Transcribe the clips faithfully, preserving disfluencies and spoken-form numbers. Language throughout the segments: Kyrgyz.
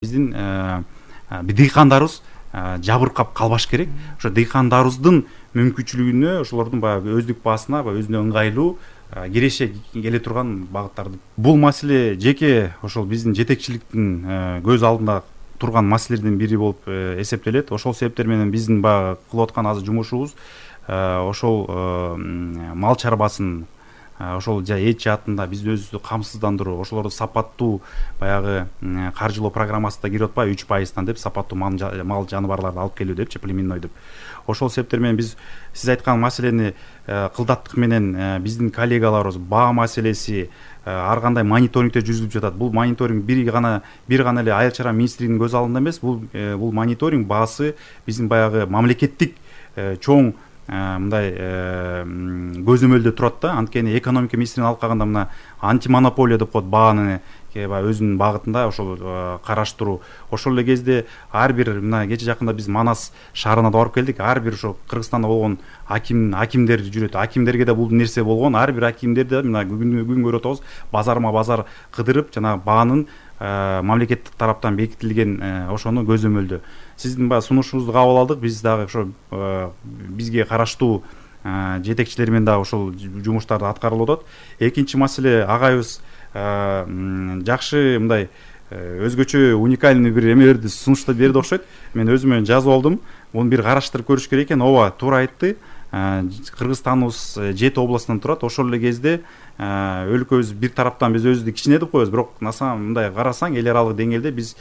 Биздин дыйкандарыбыз жабыркап калбаш керек. Ошо дыйкандарыбыздын мүмкүнчүлүгүнө, ошолордун баягы өздүк баасына, өзүнө ыңгайлуу киреше келе турган багыттарды. Бул маселе жеке ошол биздин жетекчиликтин көз алдында турган маселелердин бири болуп эсептелет. Ошол себептер менен биздин баягы кылып аткан азыр жумушубуз ошол мал чарбасын ошол эч жаатында бизди өзүбүздү камсыздандыруу, ошолорду сапаттуу баягы каржылоо программасына кирип атпайбы үч пайыздан деп сапаттуу мал жаныбарларды алып келүү депчи, племенной деп. Ошол себептер менен биз сиз айткан маселени кылдаттык менен биздин коллегаларыбыз баа маселеси ар кандай мониторингдер жүргүзүлүп жатат. Бул мониторинг бир гана бир гана эле айыл чарба министрлигинин көз алдында эмес, бул бул мониторинг баасы биздин баягы мамлекеттик чоң мындай көзөмөлдө турат да. Анткени экономика министринин алып калганда мына антимонополия деп коет, бааны өзүнүн багытында ошол караштыруу. Ошол эле кезде ар бир мына кече жакында биз Манас шаарына да барып келдик. Ар бир ошо Кыргызстанда болгон аким акимдер жүрөт. Акимдерге да бул нерсе болгон. Ар бир акимдер да мына күн күн көрүп атабыз, базарма базар кыдырып жана баанын мамлекеттик тараптан бекитилген ошону көзөмөлдө. Сиздин баягы сунушуңузду кабыл алдык. Биз дагы ошо бизге караштуу жетекчилер менен дагы ошол жумуштарды аткарылып атат. Экинчи маселе, агайыбыз жакшы мындай өзгөчө уникальный бир эмелерди сунуштап берди окшойт. Мен өзүмө жазып алдым. Муну бир караштырып көрүш керек экен. Ооба, туура айтты. Кыргызстаныбыз жети областан турат. Ошол эле кезде өлкөбүз бир тараптан биз өзүбүздү кичине деп коебуз, бирок на самом мындай карасаң эл аралык деңгээлде биз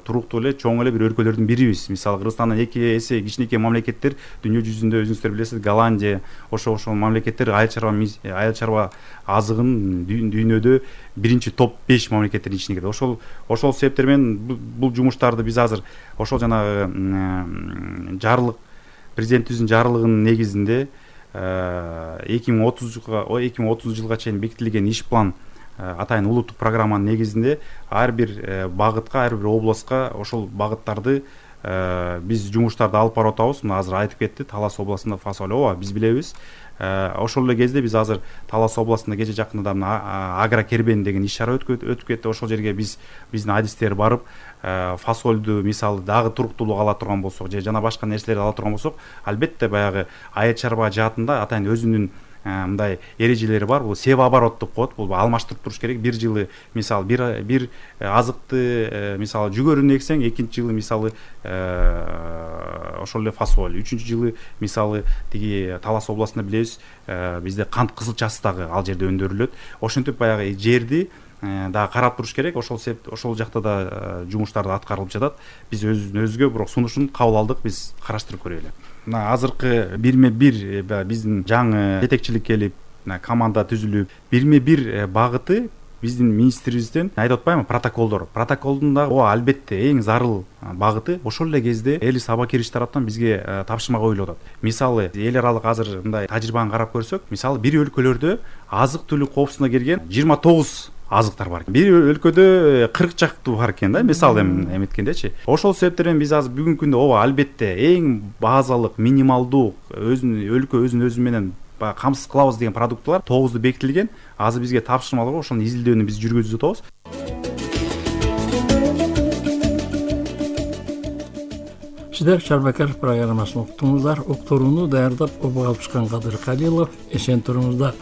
туруктуу эле чоң эле бир өлкөлөрдүн бирибиз. Мисалы Кыргызстандан эки эсе кичинекей мамлекеттер дүйнө жүзүндө өзүңүздөр билесиз, Голландия, ошо ошол мамлекеттер айыл чарба айыл чарба азыгын дүйнөдө биринчи топ беш мамлекеттердин ичине кирет. Ошол ошол себептер менен бул жумуштарды биз азыр ошол жанагы жарлык президентибиздин жарлыгынын негизинде эки миң отузга эки миң отузунчу жылга чейин бекитилген иш план, атайын улуттук программанын негизинде ар бир багытка, ар бир областка ошол багыттарды биз жумуштарды алып барып атабыз. Мына азыр айтып кетти, Талас областында фасоль. Ооба, биз билебиз. Ошол эле кезде биз азыр Талас областында кече жакында мына агро кербен деген иш чара өтүп кетти. Ошол жерге биз биздин адистер барып фасольду мисалы дагы туруктуулук ала турган болсок, же жана башка нерселерди ала турган болсок, албетте баягы айыл чарба жаатында атайын өзүнүн мындай эрежелери бар. Бул себа оборот деп коет. Бул алмаштырып туруш керек. Бир жылы мисалы бир бир азыкты мисалы жүгөрүн эксең, экинчи жылы мисалы ошол эле фасоль, үчүнчү жылы мисалы тиги Талас областында билебиз, бизде кант кызылчасы дагы ал жерде өндүрүлөт. Ошентип баягы жерди дагы карап туруш керек. Ошол себеп ошол жакта да жумуштарды аткарылып жатат. Биз өзүбүздүн өзүгө бирок сунушун кабыл алдык, биз караштырып көрөлү. Мына азыркы бирме бир биздин жаңы жетекчилик келип, команда түзүлүп, бирме бир багыты биздин министрибизден айтып атпаймынбы, протоколдор. Протоколдун дагы ооба албетте эң зарыл багыты ошол эле кезде Элис Абакирович тараптан бизге тапшырма коюлуп атат. Мисалы эл аралык азыр мындай тажрыйбаны карап көрсөк, мисалы бир өлкөлөрдө азык-түлүк коопсуздугуна кирген жыйырма тогуз азыктар бар. Бир өлкөдө кырк чактуу бар экен да, мисалы эметкендечи. Ошол себептер менен биз азыр бүгүнкү күндө ооба албетте эң базалык, минималдуу өзүнүн өлкө өзүн өзү менен камсыз кылабыз деген продуктылар тогузду бекитилген. Азыр бизге тапшырмалар, ошонун изилдөөнү биз жүргүзүп атабыз. Сиздер Чарбакар программасын уктуңуздар. Уктурууну даярдап, обуга алып чыккан Кадыр Калилов. Эсен туруңуздар.